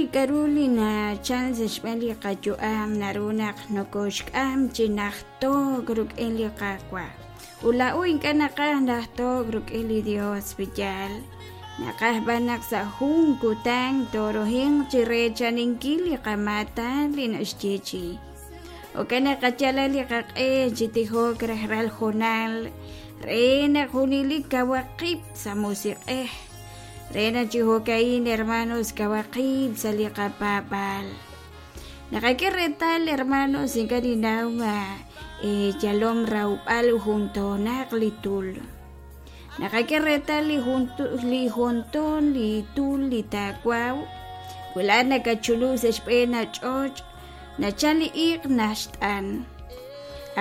li k'a'ru li nachal sa' xb'een li qayu'am naru naq nokoxk'am chi najto'k rik'in li Qaawa'. Ut laa'o ink'a' naqaj najto'k rik'in li Dios, pe'yaal? Naqaj b'an naq sa' jun kutan toorohinq chi reechaninkil li qamaatan li naxyeechi'i. Jo'kan naq qayalaq li qaq'e chi tijok rajlal hoonal re naq junelik kawaq qib' sa' musiq'ej. Re naq chi jo'ka'in, hermanos, kawaq qib' sa' li qapaab'aal. Naqak'e reetal, hermanos, ink'a' ninnaw ma yalom rawb'al jun toonaq li tul. Naqak'e reetal li jun li juntoon li tul li taawaw, wi laa'at nakatchuluk sa' xb'een ach'och', nachal li iq' naxt'an.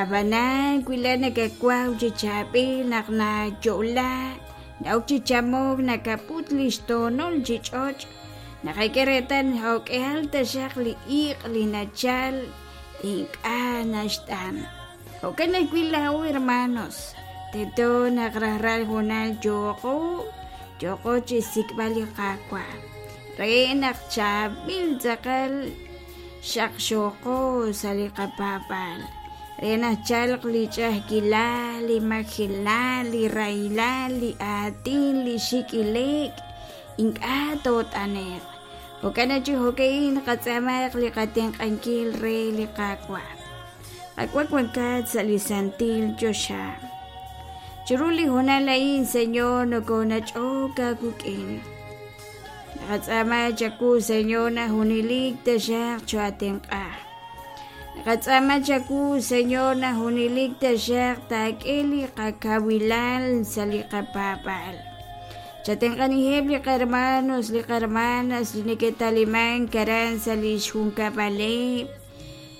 Ab'anan wi laa'at nakawaw chi chaab'il naq nayo'la, na'ok chi chamok nakaput li xtoonol chi ch'och', naqak'e reetal jo'k'ihal taxaq li iq' li nachal ink'a' naxt'an. Jo'kan ajwi' laa'o hermanos, tento naq rajlal hoonal yooqo, yooqo chi xsik'b'al li Qaawa' re naq chaab'il tz'aqal xaqxooqo sa' li qapaab'aal, re naq tchalq li ch'a'ajkilal, li majelal, li rahilal, li aatin, li xik' ile'k, ink'a' toot'ane'q. Jo'kan naq chi jo'ka'in qatz'aamaq li qatenq'ankil re li Qaawa'. Qaawa' wankat sa' li santil choxa. Chiru li hoonal a'in, Señor, nokonach'ok aawik'in. Naqatz'aama chawu, Señor, naq junelik taxaq cho'atenq'a. Naqatz'aama chawu, Señor, naq junelik taxaq taak'e li qakawilal sa' li qapaab'aal. Chatenq'aniheb' li qahermanos, li qahermanas li neke'talimank aran sa' li xjunkab'aleb',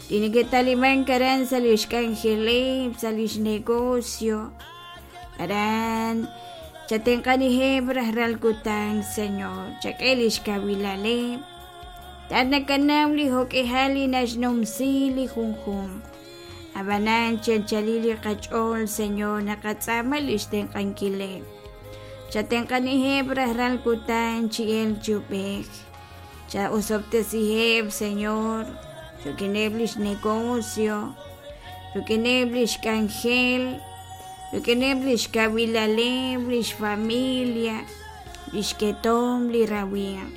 li neke'talimank aran sa' li xk'anjeleb', sa' li xnegocio. Aran chatenq'aniheb' rajlal kutan, Señor, chak'e li xkawilaleb'. Laa'at nakanaw li jo'k'ihal li naxnumsi li junjunq. Ab'anan chi anchalil li qach'ool, Señor, naqatz'aama li xtenq'ankileb'. Chatenq'aniheb' rajlal kutan chi elk chi ub'ej. Cha'osob'tesiheb', Señor, rik'ineb' lix negocio, rik'ineb' lix k'anjel, rik'ineb' lix kawilaleb', lix familia, lix ketomq, li rawimq.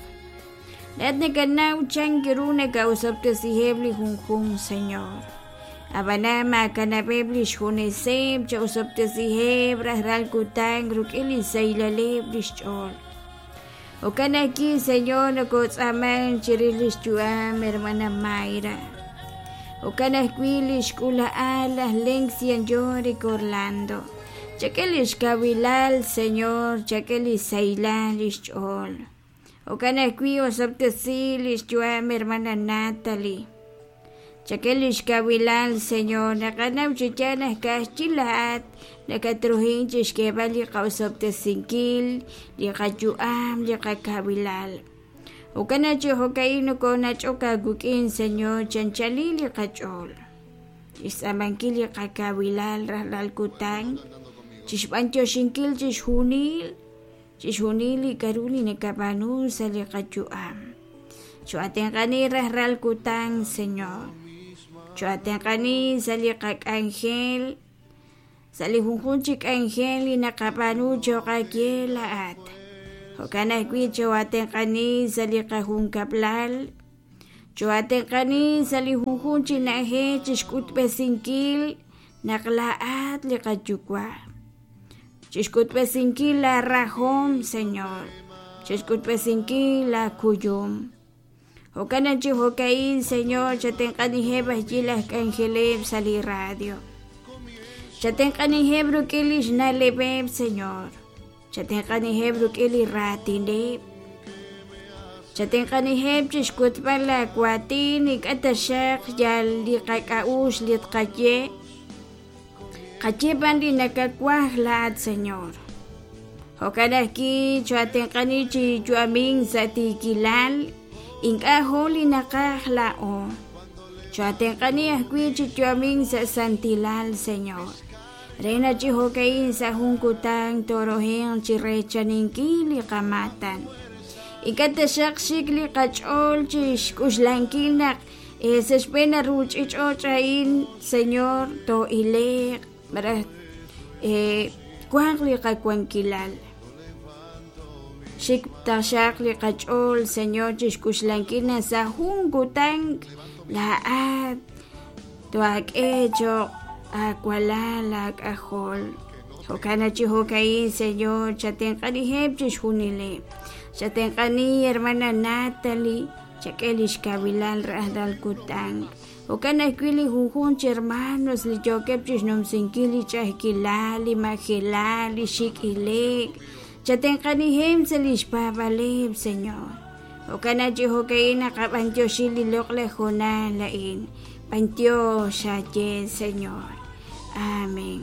Laa'at nakanaw chan ru naka'osob'tesiheb' li junjunq, Señor. Ab'anan maakanab'eb' li xjuneseb', cha'osob'tesiheb' rajlal kutan rik'in li xsahilaleb' li xch'ool. Jo'kan ajwi', Señor, nokotz'aamank chirix lix yu'am hermana Mayra. Jo'kan ajwi' lix k'uula'al laj Lencian Yorick Orlando. Chak'e lix kawilal, Señor, chak'e li sahilal lix ch'ool. Jo'kan ajwi' osob'tesi lix yu'am hermana Natalie. Chak'e lix kawilal, Señor, naqanaw chi yaal naq ka'ajwi' laa'at nakatruhin chixk'eeb'al li qa'osob'tesinkil, li qayu'am, li qakawilal. Jo'kan naq chi jo'ka'in nokonach'ok aawik'in, Señor, chi anchalil li qach'ool, chixtz'aamankil li qakawilal rajlal kutan, chixb'antioxinkil chixjunil, chixjunil li k'a'ru li nakab'aanu sa' li qayu'am. Cho'atenq'ani rajlal kutan, Señor. Cho'atenq'ani sa' li qak'anjel, sa' li junjunq chi k'anjel li naqab'aanu cho'q aawe laa'at. Jo'kan ajwi' cho'atenq'ani sa' li qajunkab'lal, cho'atenq'ani sa' li junjunq chi na'ajej chixk'utb'esinkil naq laa'at li qaYuwa'. Chixk'utb'esinkil laa rajom, Señor, chixk'utb'esinkil laa kuyum. Jo'kan naq chi jo'ka'in, Señor, chatenq'aniheb' ajwi' laj k'anjeleb' sa' li radio. Chatenq'aniheb' rik'in lix na'leb'eb', Señor. Chatenq'aniheb' rik'in li raatineb'. Chatenq'aniheb' chixk'utb'al laa waatin, ink'a' taxaq yal li qak'a'uxl li tqaye. Qaye b'an li nakawaj laa'at, Señor. Jo'kan ajwi' cho'atenq'ani chi yu'amink sa' tiikilal, ink'a' jo' li naqaj laa'o. Cho'atenq'ani ajwi' chi yu'amink sa' santilal, Señor, re naq chi jo'ka'in sa' jun kutan toorohinq chi reechaninkil li qamaatan. Ink'a' taxaq xik li qach'ool chi xk'uxlankil naq sa' xb'een a ruuch'ich'och' a'in, Señor, too'ile'q malaj wanq li qawankilal. Xik taxaq li qach'ool, Señor, chi xk'uxlankil naq sa' jun kutan laa'at toak'e cho'q aawalal aak'ajol. Jo'kan chi jo'ka'in, Señor, chatenq'aniheb' chixjunileb'. Chatenq'ani, hermana Natalie, chak'e lix kawilal rajlal kutan. Jo'kan ajwi' li junjunq chi hermanos li yookeb' chixnumsinkil li ch'a'ajkilal, li majelal, li xik' ile'k. Chatenq'aniheb' sa' lix paab'aaleb', Señor. Jo'kan chi jo'ka'in naqab'antioxi li loq'laj hoonal a'in. B'antiox aaye, Señor. Amén.